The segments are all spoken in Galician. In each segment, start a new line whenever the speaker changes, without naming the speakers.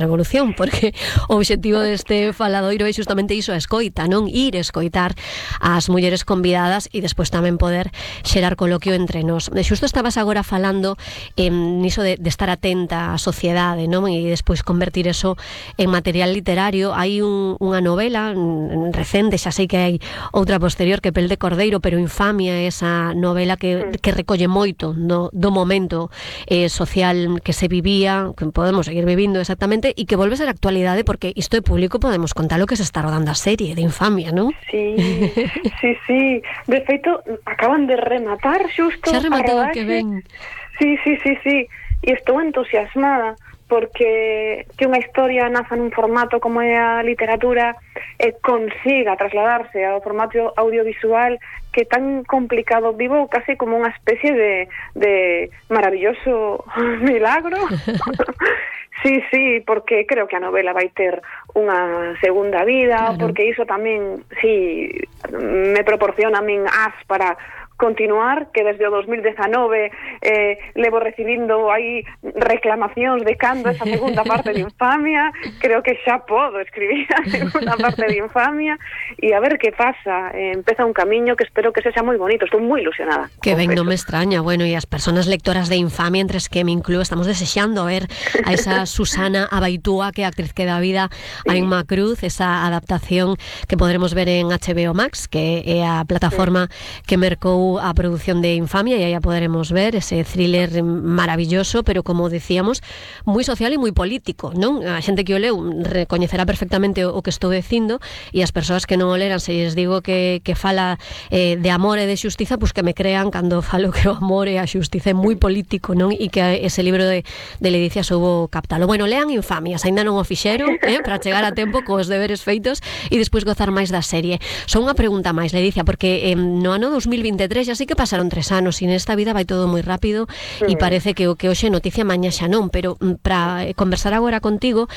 revolución, porque o obxectivo deste faladoiro é justamente iso, a escoita, non? Ir escoitar as mulleres convidadas e despois tamén poder xerar coloquio entre nós. Xusto estabas agora falando niso de estar atenta á sociedade, non? E despois convertir eso en material literario. Hai unha novela recente, xa sei que hai outra posterior, que Pel de Cordeiro, pero Infamia é esa novela que recolle moito do momento social que se vivía, que podemos seguir vivindo exactamente, e que volve a ser actualidade, porque isto é público, podemos contar o que se está rodando a serie de Infamia, non?
Sí. De feito, acaban de rematar xusto
xa rematou,
a rodaxe.
Que ben.
Sí. E estou entusiasmada porque que unha historia naza nun formato como é a literatura e consiga trasladarse ao formato audiovisual, que é tan complicado. Vivo casi como unha especie de maravilloso milagro. Sí, porque creo que a novela vai ter unha segunda vida, claro. Porque iso tamén, sí, me proporciona a min as para continuar, que desde o 2019 levo recibindo aí reclamacións de cando esa segunda parte de Infamia. Creo que xa podo escribir a segunda parte de Infamia e a ver que pasa. Empeza un camiño que espero que sexa moi bonito. Estou moi ilusionada.
Que ben, non me extraña. Bueno, e as persoas lectoras de Infamia, entre as que me incluo, estamos desexando ver a esa Susana Abaitúa, que é a actriz que dá vida a Inma Cruz, esa adaptación que podremos ver en HBO Max, que é a plataforma que mercou a produción de Infamia, e aí a poderemos ver ese thriller maravilloso, pero como decíamos, moi social e moi político, non? A xente que o leu recoñecerá perfectamente o que estou dicindo, e as persoas que non o leran, se lles digo que fala de amor e de xustiza, pois que me crean cando falo que o amor e a xustiza é moi político, non? E que ese libro de Ledicia soubo captalo. Bueno, lean Infamia, se ainda non o fixeron, para chegar a tempo cos deberes feitos e despois gozar máis da serie. Só unha pregunta máis, Ledicia, porque no ano 2023 xa sí que pasaron 3 anos e nesta vida vai todo moi rápido e parece que o que hoxe noticia mañá xa non, pero para conversar agora contigo,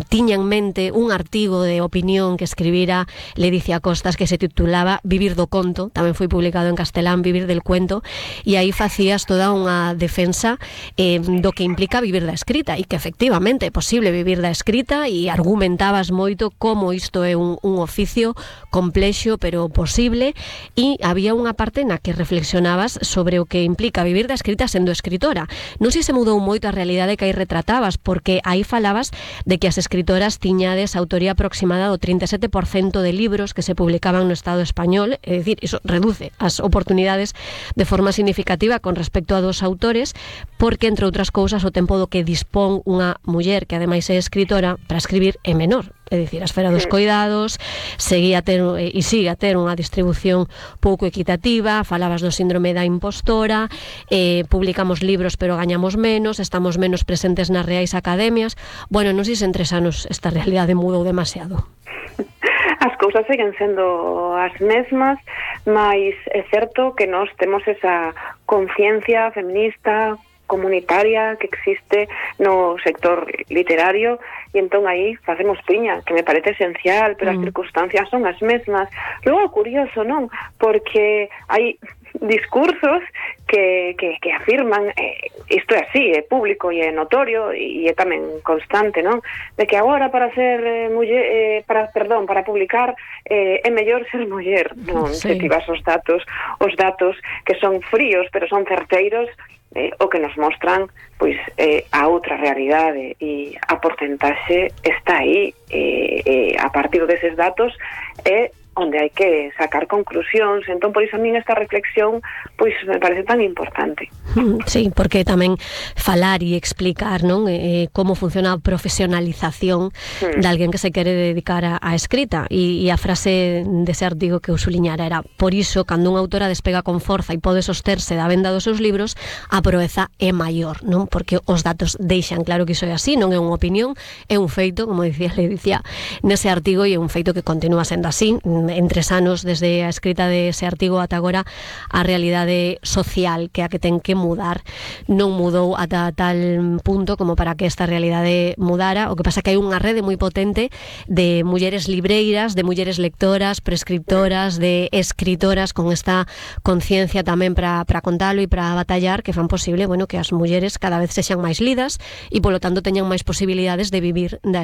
tiña en mente un artigo de opinión que escribira Ledicia Costas que se titulaba Vivir do conto, tamén foi publicado en castelán, Vivir del cuento, e aí facías toda unha defensa do que implica vivir da escrita, e que efectivamente é posible vivir da escrita, e argumentabas moito como isto é un oficio complexo pero posible, e había unha parte na que reflexionabas sobre o que implica vivir da escrita sendo escritora. Non sei se mudou moito a realidade que aí retratabas, porque aí falabas de que as escritoras tiñades autoría aproximada do 37% de libros que se publicaban no Estado español, é dicir, iso reduce as oportunidades de forma significativa con respecto a dos autores, porque, entre outras cousas, o tempo do que dispón unha muller que ademais é escritora para escribir é menor. É dicir, a esfera dos coidados sigue a ter unha distribución pouco equitativa. Falabas do síndrome da impostora, publicamos libros pero gañamos menos, estamos menos presentes nas reais academias. Bueno, non sei se en 3 anos esta realidade mudou demasiado.
As cousas seguen sendo as mesmas, mas é certo que nós temos esa conciencia feminista comunitaria que existe no sector literario, e entón aí facemos piña, que me parece esencial, pero as circunstancias son as mesmas. Logo, curioso, non? Porque hai discursos que afirman isto é así, é público e é notorio e é tamén constante, non? De que agora para ser para publicar é mellor ser muller, non? Sí. Se tivas os datos que son fríos pero son certeiros, o que nos mostran pois a outra realidade, e a porcentaxe está aí, a partir deses datos é onde hai que sacar conclusións. Entón, por iso a min esta reflexión pois me parece tan importante.
Sí, porque tamén falar e explicar, non, como funciona a profesionalización de alguén que se quere dedicar á escrita, e a frase dese artigo que eu suliñara era: por iso, cando unha autora despega con forza e pode sosterse da venda dos seus libros, a proeza é maior, non? Porque os datos deixan claro que iso é así, non é unha opinión, é un feito, como dicía Ledicia nese artigo, e é un feito que continúa sendo así. en 3 anos desde a escrita dese artigo ata agora a realidade social que a que ten que mudar non mudou ata tal punto como para que esta realidade mudara. O que pasa que hai unha rede moi potente de mulleres libreiras, de mulleres lectoras, prescriptoras, de escritoras con esta conciencia tamén para contalo e para batallar, que fan posible, bueno, que as mulleres cada vez sexan máis lidas e polo tanto teñan máis posibilidades de vivir da